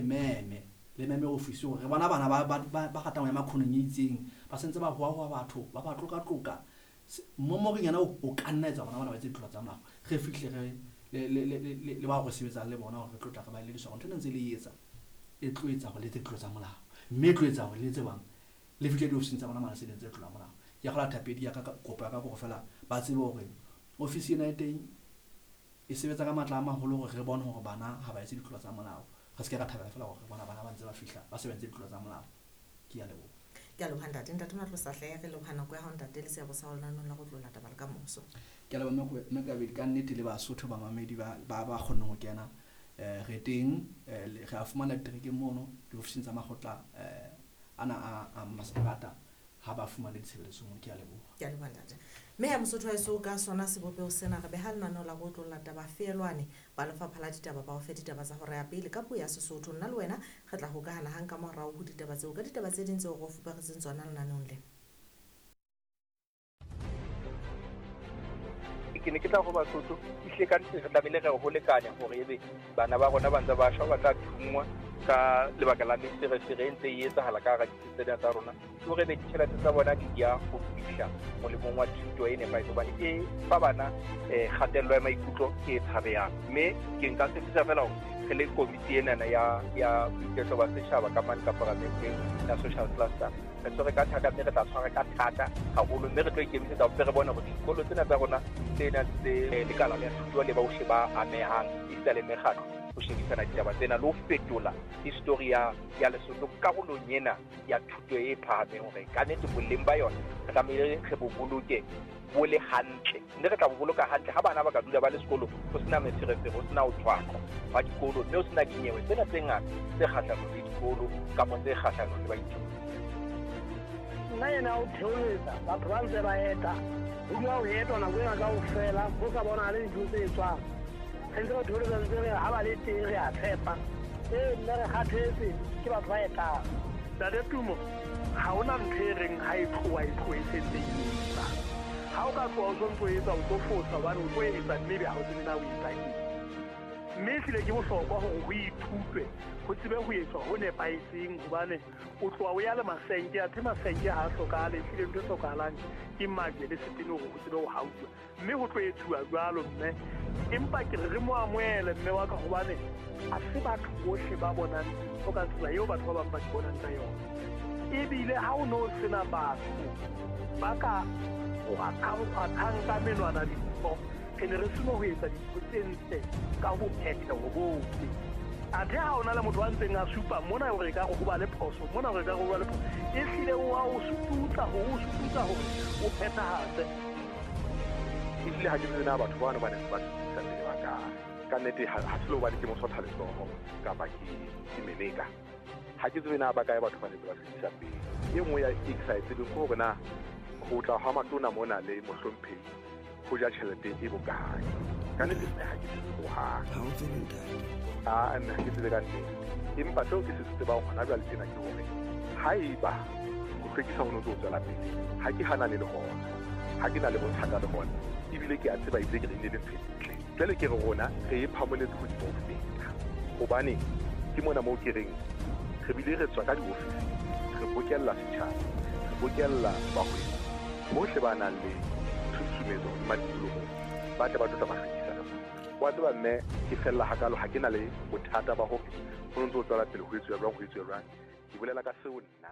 meme le meme ofisi hore re bona bana ba ratang ho ya makhoneng e itseng, ba sentse ba hoahoa batho, ba ba tloka-tloka. Momoreng yena o ka nna etsa bona bana ba etse ditlolo tsa molao. Re fihle re le bao re sebetsang le bona hore re tlotla re ba elediswa hore ntho ena ntse le etsa e tlo etsa hore le etse ditlolo tsa molao, mme e tlo etsa hore le etse bang le fihle diofising tsa bona mane se le entse tlolo ya molao. Ke a kgolwa thapedi ya ka, kopo ya ka ke hore feela ba tsebe hore ofisi ena e teng e sebetsa ka matla a maholo hore re bone hore bana ha ba etse ditlolo tsa molao. Re se ke ra thabela feela hore re bona bana ba ntse ba fihla ba se ba entse ditlolo tsa molao. Ke a leboha. Ke a leboha ntate. Ntate Matlosa hle, re leboha nako ya hao ntate le seabo sa hao lenaneong la go tlola taba le ka moso. Ke a leboha mme Kabedi, ka nnete le Basotho bamamedi ba ba kgonneng ho kena. Re teng, re a fumana diterekeng mono diofising tsa makgotla ana a masepalata ha ba fumane ditshebeletso mono. Ke a leboha. Ke a leboha ntate. Mme ya Mosotho wa heso ka sona sebopeho sena re beha lenaneo la go tlola taba feelwane ba lefapha la ditaba ba o fe ditaba tsa hora ya pele ka puo ya Sesotho. Nna le wena re tla hokahana hang ka morao ho ditaba tseo ka ditaba tse ding tseo re o fuparetseng tsona lenaneong lena. Ke ne ke tla ho Basotho ehlile ka nnete re tlamehile re ho lekanya hore ebe bana ba rona ba ntse ba shwa, ba tla thunngwa ka lebaka la meferefere e ntse e etsahala ka hara ditsi tsena tsa rona, ke hore ebe ditjhelete tsa bona di ya ho fihla molemong wa thuto e nepahetseng, hobane e fa bana kgatello ya maikutlo e tshabehang. Mme ke nka tshepisa fela hore re le komiti enana ya boiketlo ba setjhaba ka mane ka paramenteng ya social cluster, re tshwere ka thata mme re tla tshwara ka thata haholo, mme re tlo ikemisetsa hore re bone hore dikolo tsena tsa rona tse nang le lekala la thuto le bohle ba amehang esita le mekgatlo ho shebisana ditaba tsena le ho fetola histori ya Lesotho karolong ena ya thuto e phahameng, hore ka nnete boleng ba yona re tlamehile re bo boloke bo le hantle, mme re tla bo boloka hantle ha bana ba ka dula ba le sekolo ho sena meferefere, ho sena ho tshwaqwa hwa dikolo, mme ho sena dinyewe tsena tse ngata tse kgahlanong le dikolo kapa tse kgahlanong le baithuti. Nna ena o theoletsa batho ba ntse ba eta, ho dula ho etwa nako ena kaofela, ho sa bonahale dintho tse etswang. Re ntse re theoletsa ntse re ha ba le teng re a tshepa. Ee, mme re kgathetse ke batho ba etang. Ntate Tumo, ha hona ntho e reng ha e tloha e tlohe e sentse e etsa. Ha o ka tloha o sontso etsa, o tlo fosa hobane o tlo etsa mme ebe ha o tsebe na o etsa eng. Mme ehlile ke bohlokwa hore ho ithutwe, ho tsebe ho etswa ho nepahetseng, hobane o tloha o ya le masenke, athe masenke ha a hlokahale. Ehlile ntho e hlokahalang ke majwe le setene hore ho tsebe ho hauwa, mme ho tlo etsuwa jwalo mme. Empa ke re re mo amohele mme wa ka, hobane ha se batho bohle ba bonang dintho ka tsela eo batho ba bang ba di bonang ka yona. Ebile ha o no sena batho ba ka kgwathang ka menwana dintho, re ne re seno ho etsa dintho tse ntle ka ho phetheho bohle. Athe ha ona le motho a ntseng a supa mona hore e ka re ho ba le phoso, mona hore e ka re ho ba le phoso, ehlile o a o sututsa hore o sututsa hore o phethahatse. Ehlile ha ke tsebe na batho bano ba ne ba sutusa pele ba kae. Ka nnete ha se le hobane ke mosotha letsoho kapa ke meleka. Ha ke tsebe na ba kae batho ba ne ba sutusa pele. E nngwe ya e ke sa e tsebeng ke hore na ho tla hwa matona mona le mohlomphehi ho ja tjhelete e bokae. Ka nnete nna ha ke tsebe hohang. Ha o tsebe ntate? Ah, nna ha ke tsebe ka nnete. Empa seo ke se tsebang hona jwale tjena ke hore haeba ho hlwekisa ho no ntso tswela pele, ha ke hanane le hona, ha ke na le bothata le hona, ebile ke a tseba ebile ke re ile le ntho e ntle. Jwale ke re rona re e phamoletse hodimo ho feta, hobane ke mona moo ke reng re bile re tswa ka diofising, re bokella setjhaba, re bokella bahwebi bohle ba nang le tshusumetso hodima tikoloho, ba tle ba tlo tla ba hlwekisa ka mona. Wa tseba mme ke fella hakalo, ha ke na le bothata ba hore ho ntso tswela pele ho etsuwa jwang, ho etsuwa jwang. Ke bolela ka seo nna.